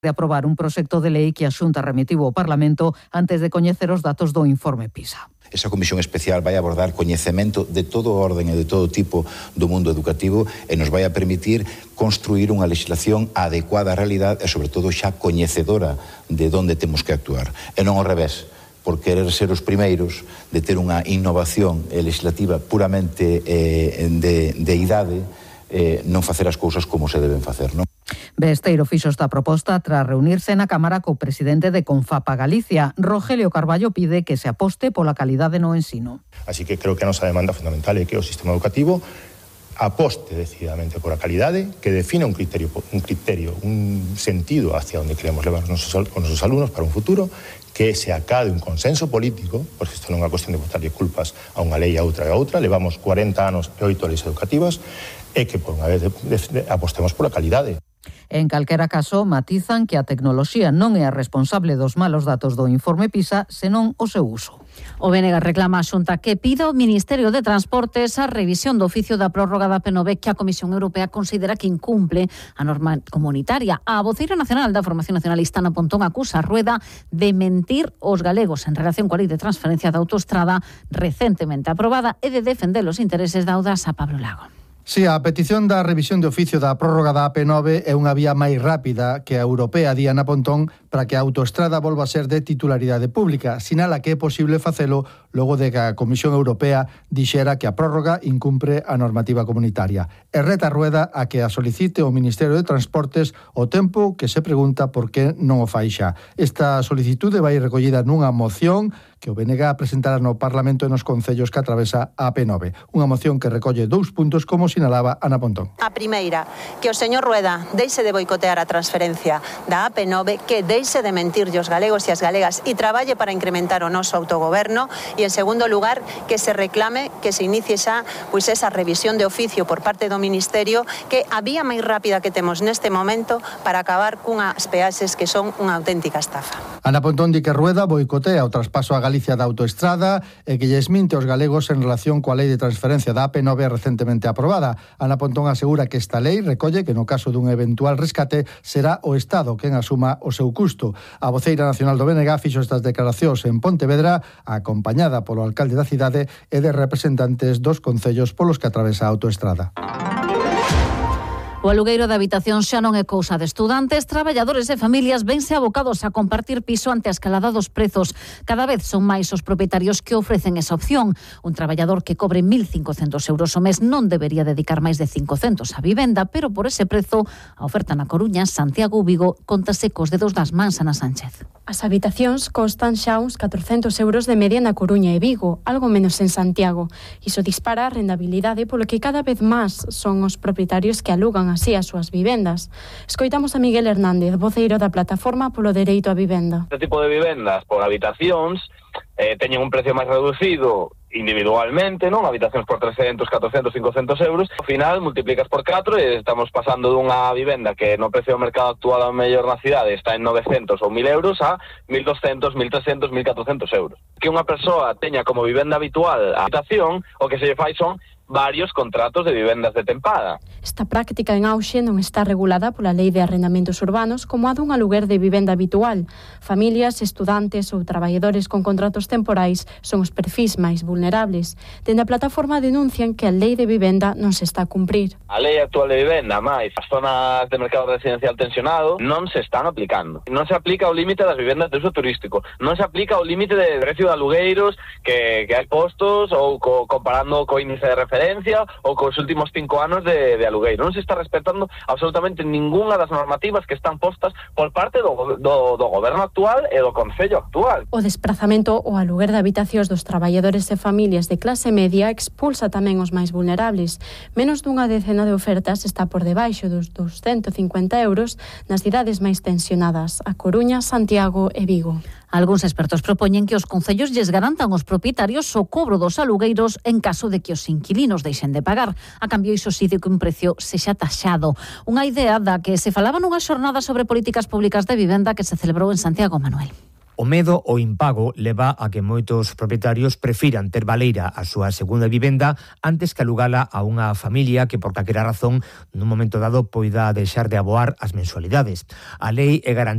de aprobar un proxecto de lei que a Xunta remitiu ao Parlamento antes de coñecer os datos do informe PISA. Esa comisión especial vai abordar coñecemento de todo orden e de todo tipo do mundo educativo e nos vai a permitir construir unha legislación adecuada á realidade e, sobre todo, xa coñecedora de onde temos que actuar. E non ao revés, por querer ser os primeiros de ter unha innovación legislativa puramente de idade, non facer as cousas como se deben facer, non? Besteiro fixo esta proposta tras reunirse na Cámara co presidente de Confapa Galicia. Rogelio Carballo pide que se aposte pola calidade no ensino. Así que creo que a nosa demanda fundamental é que o sistema educativo aposte decididamente por a calidade, que defina un criterio, un sentido hacia onde queremos levar os nosos alumnos para un futuro, que se acade un consenso político, porque isto non é unha cuestión de botarlle culpas a unha lei a outra e a outra, levamos 40 anos e 8 leis educativas, e que por unha vez apostemos pola calidade. En calquera caso, matizan que a tecnoloxía non é a responsable dos malos datos do informe PISA, senón o seu uso. O BNG reclama a Xunta que pida ao Ministerio de Transportes a revisión do oficio da prórroga da P9 que a Comisión Europea considera que incumple a norma comunitaria. A voceira nacional da Formación Nacionalista Ana Pontón acusa a Rueda de mentir os galegos en relación coa lei de transferencia da autoestrada recentemente aprobada e de defender os intereses da Audasa. Pablo Lago. Si, a petición da revisión de oficio da prórroga da AP9 é unha vía máis rápida que a europea, di Ana Pontón, para que a autoestrada volva a ser de titularidade pública. Sinala que é posible facelo logo de que a Comisión Europea dixera que a prórroga incumpre a normativa comunitaria. E reta a Rueda a que a solicite o Ministerio de Transportes o tempo que se pregunta por que non o fai xa. Esta solicitude vai recollida nunha moción que o BNG presentará no Parlamento e nos concellos que atravesa a AP9. Unha moción que recolle 2 puntos, como sinalaba Ana Pontón. A primeira, que o señor Rueda deixe de boicotear a transferencia da AP9, que deixe de mentirlle os galegos e as galegas e traballe para incrementar o noso autogoberno, e en segundo lugar, que se reclame que se inicie xa esa revisión de oficio por parte do Ministerio, que a vía máis rápida que temos neste momento para acabar cunhas peaxes que son unha auténtica estafa. Ana Pontón di que Rueda boicotea o traspaso a Galicia da autoestrada e que lles minte aos galegos en relación coa lei de transferencia da AP9 recentemente aprobada. Ana Pontón asegura que esta lei recolle que no caso dun eventual rescate será o Estado quen asuma o seu custo. A voceira nacional do BNG fixo estas declaracións en Pontevedra, acompañada polo alcalde da cidade e de representantes dos concellos polos que atravesa a autoestrada. O alugueiro de habitación xa non é cousa de estudantes, traballadores e familias vense abocados a compartir piso ante a escalada dos prezos. Cada vez son máis os propietarios que ofrecen esa opción. Un traballador que cobre 1.500 euros ao mes non debería dedicar máis de 500 a vivenda, pero por ese prezo, a oferta na Coruña, Santiago ou Vigo contase cos dedos das mans. Ana Sánchez. As habitacións costan xa uns 400 euros de media na Coruña e Vigo, algo menos en Santiago. Iso dispara a rentabilidade polo que cada vez máis son os propietarios que alugan así as súas vivendas. Escoitamos a Miguel Hernández, voceiro da Plataforma polo Dereito á Vivenda. Este tipo de vivendas por habitacións teñen un precio máis reducido individualmente, non? Habitacións por 300, 400, 500 euros. Ao final, multiplicas por 4 e estamos pasando dunha vivenda que no precio do mercado actual a mellor na cidade está en 900 ou 1.000 euros a 1.200, 1.300, 1.400 euros. Que unha persoa teña como vivenda habitual a habitación, o que se lle fai son varios contratos de vivendas de tempada. Esta práctica en auxe non está regulada pola Lei de Arrendamentos Urbanos como a dun aluguer de vivenda habitual. Familias, estudantes ou traballadores con contratos temporais son os perfís máis vulnerables. Dende a plataforma denuncian que a Lei de Vivenda non se está a cumprir. A Lei actual de vivenda, máis as zonas de mercado residencial tensionado, non se están aplicando. Non se aplica o límite das vivendas de uso turístico. Non se aplica o límite de precio de alugueiros que hai postos ou comparando co índice de referencia ou cos últimos 5 anos de alugueiro. Non se está respetando absolutamente ningunha das normativas que están postas por parte do goberno actual e do Concello actual. O desprazamento ou aluguer de habitacións dos traballadores e familias de clase media expulsa tamén os máis vulnerables. Menos dunha decena de ofertas está por debaixo dos 250 euros nas cidades máis tensionadas, a Coruña, Santiago e Vigo. Algúns expertos propoñen que os concellos lles garantan aos propietarios o cobro dos alugueiros en caso de que os inquilinos deixen de pagar. A cambio, iso sí de que un precio sexa taxado. Unha idea da que se falaba nunha xornada sobre políticas públicas de vivenda que se celebrou en Santiago, Manuel. O medo ao impago leva a que moitos propietarios prefiran ter baleira a súa segunda vivenda antes que alugala a unha familia que por calquera razón nun momento dado poida deixar de aboar as mensualidades. A lei é garantía